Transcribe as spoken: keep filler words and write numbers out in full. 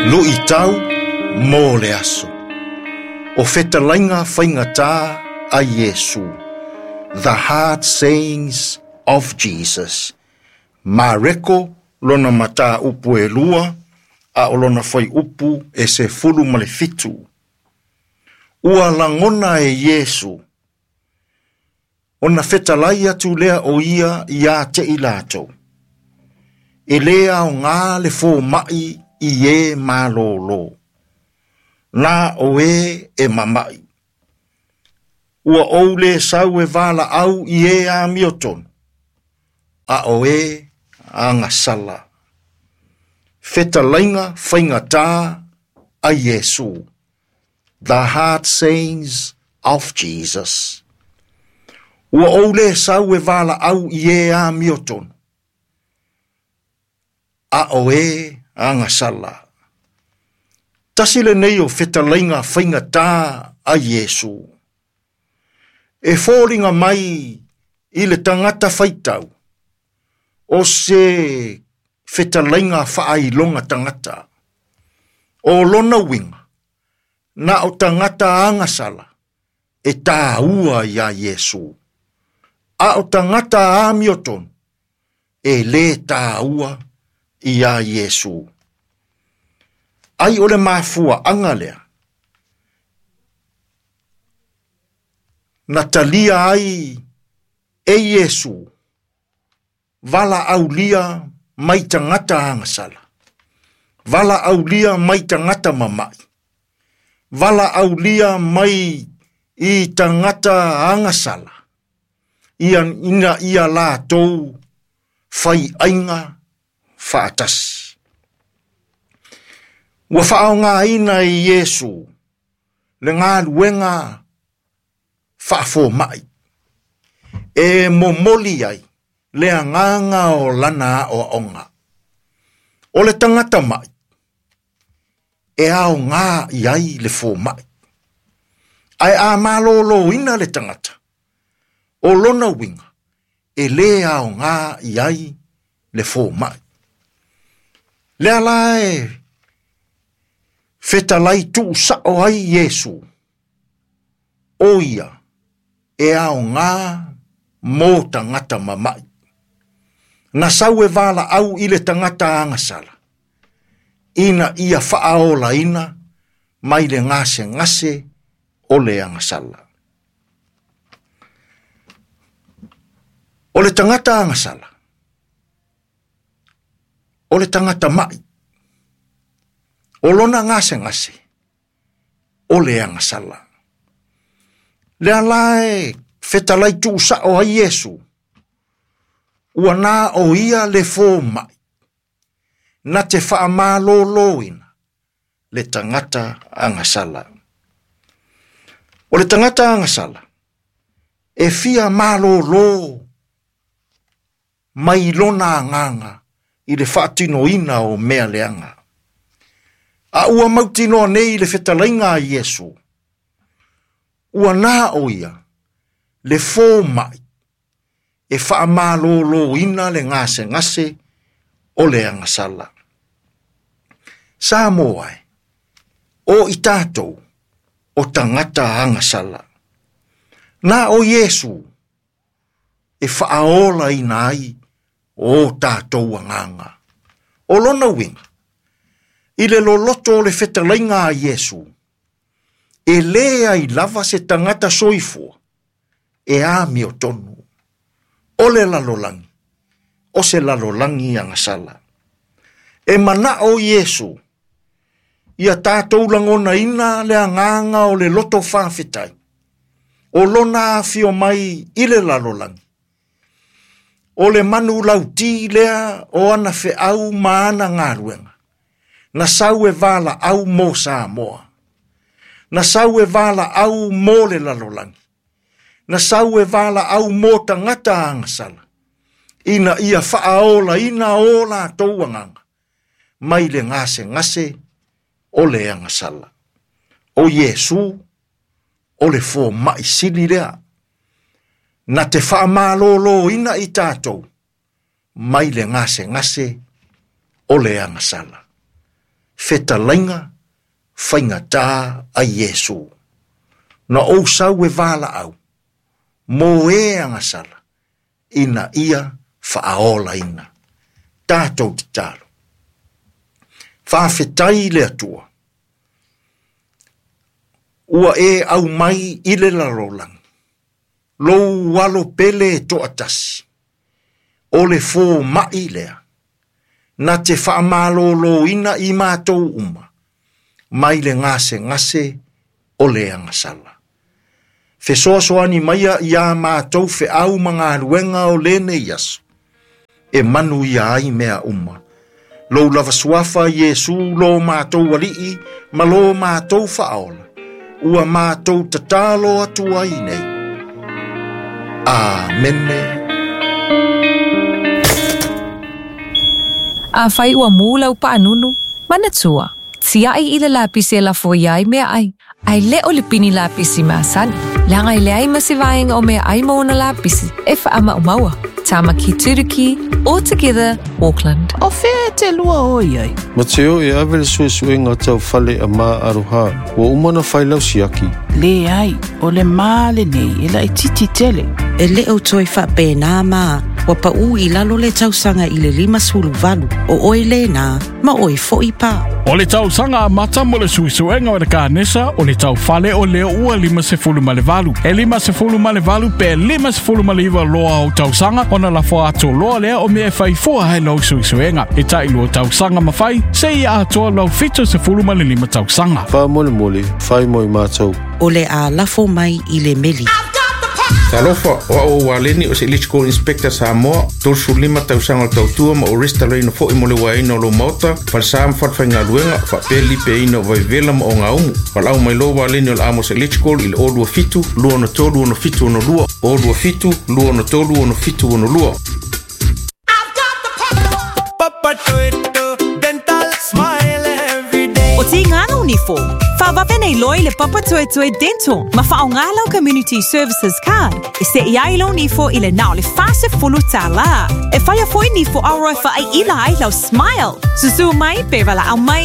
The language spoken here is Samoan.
Luʻitau mo le aso. O fetalaiga faigatā a Iesu. The Hard Sayings of Jesus. Mareko lona mataupu e lua, a o lona fuaiupu e sefulu ma le fitu. Ua lagona e Iesu. Ona fetalai atu lea o ia ia te i latou. E lē aogā le fomaʻi i e malōlō. Na o e e mamaʻi. Ua ou lē sau e valaau i e amiotonu. A o e agasala. Fetalaiga faigatā a Iesu. The Hard Sayings of Jesus. Ua ou lē sau e valaau i e amiotonu. A o e agasala. Tasi lenei o fetalaiga faigatā a Iesu. E foliga mai i le tagata faitau. O se fetalaiga faailoga tagata. O lona uiga. Na o tagata agasala. E tāua iā Iesu. A o tagata amiotonu. E lē tāua iā Iesu. Ai o le mafuaʻaga lea. Na talia ai e Iesu. Valaaulia mai tagata agasala. Valaaulia mai tagata mamaʻi. Valaaulia mai i tagata agasala. Ia ina ia latou faiaiga faatasi. Ua faaaogāina e Iesu le galuega faafomaʻi. E momoli ai le agaga o lana aʻoaʻoga. O le tagata maʻi e aogā i ai le fomaʻi. Ae a malōlōina le tagata. O lona uiga e lē aogā i ai le fomaʻi. Lea la e fetalai tuusaʻo ai Iesu. O ia e aogā mo tagata mamaʻi. Na sau e valaau i le tagata agasala. Ina ia faaolaina mai le gasegase o le agasala. O le tagata agasala. O le tagata maʻi. O lona gasegase. O le agasala. Lea la e fetalai tuusaʻo ai Iesu. Ua na o ia le fomaʻi. Na te faamalōlōina le tagata agasala. O le tagata agasala. E fia malōlō mai lona agaga i le faatinoina o mea leaga. A ua mautinoa nei le fetalaiga a Iesu. Ua na o ia le fomaʻi e faamalōlōina le gasegase o le agasala. Samoa e, o i tatou o tagata agasala. Na o Iesu e faaolaina ai o tatou agaga. O lona uiga, i le loloto o le fetalaiga a Iesu, e lē ai lava se tagata soifua e amiotonu. O le lalolagi, o se lalolagi agasala. E manaʻo Iesu, ia tatou lagonaina le agaga o le loto faafetai. O lona afio mai i le lalolagi. O le manu lautī lea o ana feʻau ma ana galuega. Na sau e valaau mo Samoa. Na sau e valaau mo le lalolagi. Na sau e valaau mo tagata agasala. Ina ia faaolaina o latou agaga. Mai le gasegase o le agasala. O Iesu o le fomaʻi sili lea. Na te faamalōlōina i tatou mai le gasegase o le agasala. fetalaiga faigatā a Iesu. Na ou sau e valaau, mo e agasala, ina ia faaolaina. Tatou tatalo. Faafetai le Atua. Ua e aumai i le lalolagi, lou alo pele e toatasi, o le fomaʻi lea, na te faamalōlōina i matou uma, mai le gasegase o le agasala. Fesoasoani maia iā matou feau ma galuega o lenei aso, e manuia ai mea uma. Lou lava suafa Iesu lo matou alii ma lo matou faaola, ua matou tatalo atu ai nei. Amene. Afai ua mu lau paanunu, manatua, tiai i le lapisi e lafo iai mea ai. Ai le o le pini lapisi masani. Leaga i leai ma se vaega o mea ai ma ona lapisi e faamaumaua. Tamaki Turuki, all together, Auckland. O fea e te lua o iai? Ma te o e ave le suesuega tau fale a maa aroha, ua uma na whailau siaki. Le ai, o le maa lenei e lai titi tele. E le o toi whapēnā mā, wa pa u i lalo le tausaga i le lima sulu valu, o oi le nā, ma oi fo i pā. O le tausaga amata mo le suesuega o le kanesa, o le taufale o lea ua lima sefulu ma le valu. E lima sefulu ma le valu pe lima sefulu ma le iwa loa o tausaga, ona lafo atu loa lea o mea e faifua hai lau suesuega. E tai lua tausaga mawhai, se ia atoa lau fito sefulu ma le lima tausaga. Wha mole mole, whai moi mātou. O le a lafo mai i le meli. Talofa, o au waleni o se Electrical Inspector Samoa, tolu lima tausaga o tautua ma o restalaina fo'i mo le uaina o lou maota, falesā ma falefaigaluega, faapea lipeaina o vaivela ma ogaumu. Valaau mai loa waleni o le Amos Electrical i le o lua fitu, lua ono tolu ono fitu ono lua, o lua fitu, lua ono tolu ono fitu ono lua. O tingana unifo. Whawawenei loi le papa tuetue dental. Ma whaongalau Community Services Card. E se iai lau nifo i le nao le fase fulu tālā. E whaia foi nifo auroi wha ai ila ai lau smile. Susu mai, pe wala au mai